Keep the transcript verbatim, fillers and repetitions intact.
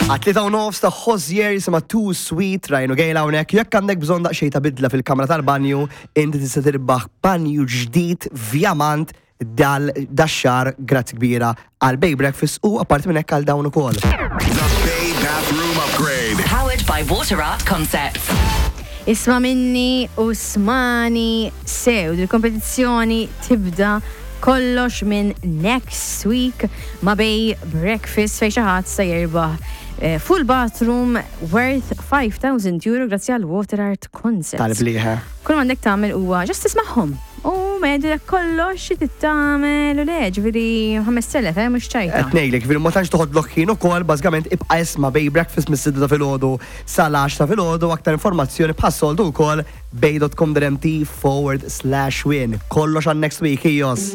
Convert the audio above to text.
Għat-tlieta u nofs ta' Hozier jisimha Too Sweet, Ryan u Gail hawnhekk. Jekk għandek bżonn daqsxejn ta' bidla fil-kamra tal-banju, inti tista' tirbaħ banju ġdid fjamant dal dax-xahar, grazzi kbira għal Bay Breakfast u apparti minn hekk għal dawn ukoll. The Bay Bathroom Upgrade. Powered by Water Art Concepts. Isma' minni u ismagħni sew, il-kompetizzjoni tibda kollox minn next week ma' Bay Breakfast, fejn xi ħadd se jirbaħ eh, full bathroom worth five thousand euro grazzi għal Water Art Concepts. Tal-bliħa. Kull m'għandek tagħmel huwa just tismagħhom. U medilek kollox xi tagħmel u le, ġifieri ħamest elef, eh, mhux ċajta. Qed ngħidlek, ġifieri ma tantx toħodlok ħin ukoll, bażikament ibqa' isma' Bay Breakfast mis-sitta ta' filgħodu sal-għaxra ta' filgħodu. Aktar informazzjoni bħas-soltu wkoll bay dot com dot M T forward slash win. Kollox għal next week, ijos.